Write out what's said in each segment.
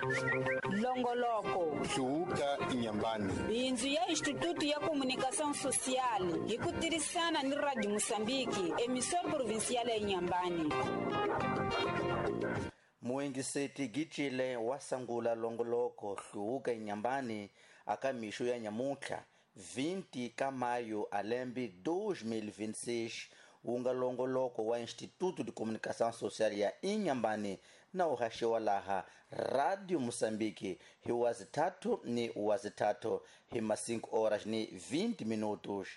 Longoloko Hluvuka Inyambani. Bindzu ya Instituto ya Comunicação Social hi ku tirhisana ni Radio Moçambique, emissora provincial ya Inhambane. Muengiseti Gicile wa sangula longoloko Hluvuka Inyambani aka mixo ya nyamuntlha 20 ka maio a lembe 2026, wu nga longoloko wa Instituto de Comunicação Social ya Inhambane na wu haxiwa laha Radio Moçambique hi wazithathu ni wazithathu hi ma 5 horas ni 20 minutos.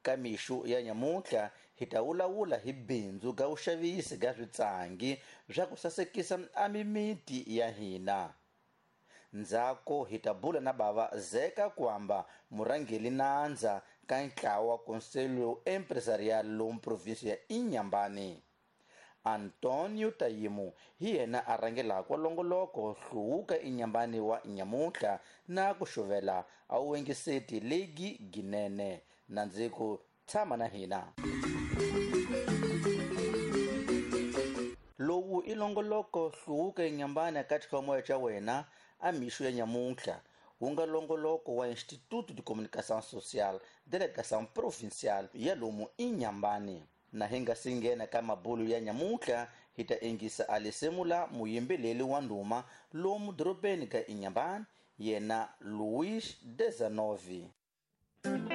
Ka mixo ya nyamuntlha hi ta vulavula hi bindzu ga vuxavisi ga switsangi swa ku sasekisa a mimiti ya hina. Ndzhaku hi ta bula na bava Zeka Kwamba, murhangeri nandza ka ntlawa wa Conselho Empresarial lomu provinsi ya Inhambane. Antonio Tayimu hi yena a rhangelaka longoloko Hluvuka Inhambane wa nyamuntlha na ku xuvela a wu engiseti legi ginene. Na ndzi ku tshama na hina. Lowu i longoloko Hluvuka Inhambane aka xikhomoya xa wena a mixo ya nyamuntlha, wu nga longoloko wa Instituto de Comunicação Social, Delegação Provincial ya lomu Inhambane. Na hi nga si nghena ka mabulu ya nyamuntlha, hi ta engisa a lisemula muyimbeleli wa ndhuma lomu dorobeni ka Inhambane, yena Luís Dezanovi.